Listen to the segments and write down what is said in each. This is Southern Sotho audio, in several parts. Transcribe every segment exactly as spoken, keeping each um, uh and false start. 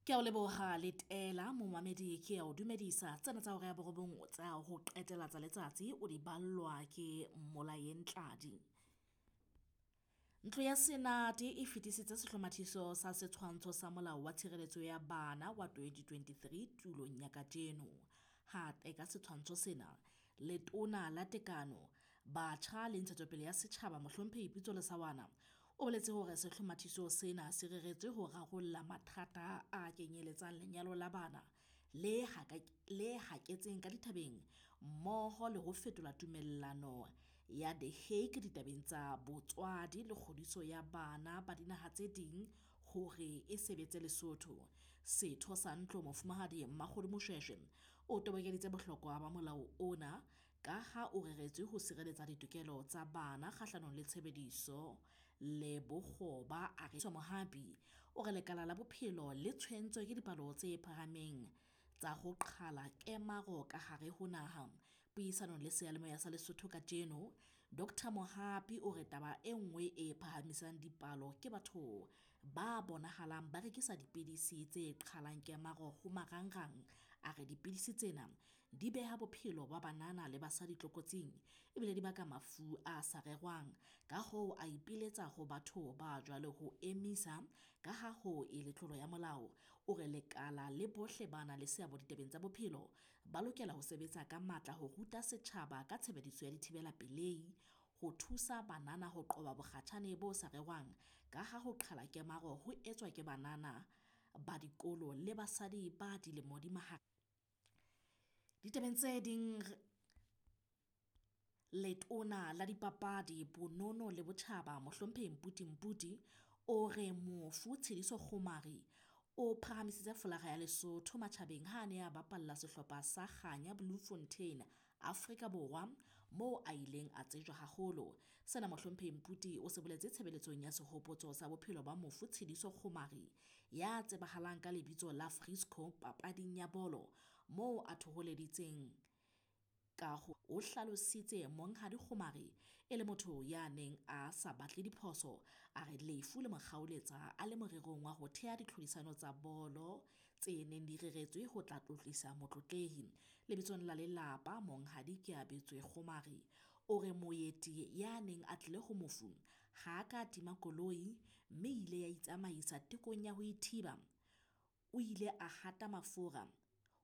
Ke a o leboha letela momamedi, ke a o dumedisa. Tsena tsa hora ya borobong tsa ho qetela tsa letsatsi o di ballwa ke Molaeng Tladi. Ntlo ya Senate e fetisitse sehlomathiso sa Setshwantsho sa Molao wa Tshireletso ya Bana wa twenty twenty-three tulong ya kajeno. Ha teka setshwantsho sena, Letona la Tekano, Batjha le Ntshetsopele ya Setjhaba Mohlomphehi Pitso Lesaoana o boletse hore sehlomathiso sena se reretswe ho rarolla mathata a kenyeletsang lenyalo la bana le le haketseng ka dithabeng mmoho le ho fetola tumellano ya The Hague ditabeng tsa botswadi le kgodiso ya bana ba dinaha tse ding hore e sebetse Lesotho. Setho sa ntlo Mofumahadi Mmakgodu Moshweshwe o tobokeditse bohlokwa ba molao ona ka ha o reretswe ho sireletsa ditokelo tsa bana kgahlanong le tshebediso le bokgoba. A re Mohapi o re lekala la bophelo le tshwentswe ke dipalo tse phahameng tsa ho qhala kemaro ka hare ho naha. Puisanong le seyalemoya sa Lesotho kajeno, Doctor Mohapi o re taba e nngwe e phahamisang dipalo ke batho ba bonahalang ba rekisa dipidisi tse qhalang kemaro ho marangrang. A re dipidisi tsena di beha bophelo ba banana le basadi tlokotsing ebile di baka mafu a sa rerwang. Ka hoo a ipiletsa ho batho ba jwalo ho emisa ka ha ho e le tlolo ya molao. O re lekala le bohle ba nang le seabo ditabeng tsa bophelo ba lokela ho sebetsa ka matla ho ruta setjhaba ka tshebediso ya dithibela pelehi, ho thusa banana ho qoba bokgatjhane bo sa rerwang ka ha ho qhala kemaro ho etswa ke banana ba dikolo le basadi ba dilemo di mahareng. Ditabeng tse ding, Letona la Dipapadi, Bonono le Botjhaba Mohlomphehi Mputi Mputi o re mofu Tshidiso Kgomari o phahamisitse folaga ya Lesotho matjhabeng ha a ne a bapalla sehlopha sa Kganya Bloemfontein Afrika Borwa moo a ileng a tsejwa haholo. Sena Mohlomphehi Mputi o se boletse tshebeletsong ya sehopotso sa bophelo ba mofu Tshidiso Kgomari ya tsebahalang ka lebitso la Frisco papading ya bolo moo a thoholeditseng ka ho o hlalositse Monghadi Kgomari e le motho ya neng a sa batle diphoso. A re lefu le mo kgaoletsa a le morerong wa ho thea ditlhodisano tsa bolo tse neng di reretswe ho tla tlotlisa motlotlehi. Lebitsong la lelapa Monghadi Keabetswe Kgomari o re moeti ya neng a tlile ho mofu ha a ka tima koloi mme ile ya itsamaisa tekong ya ho ithiba. O ile a hata mafura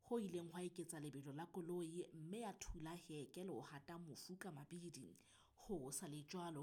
ho ileng hwa eketsa lebelo la koloi mme ya thula heke le ho hata mofu ka mabidi. Ho sa le jwalo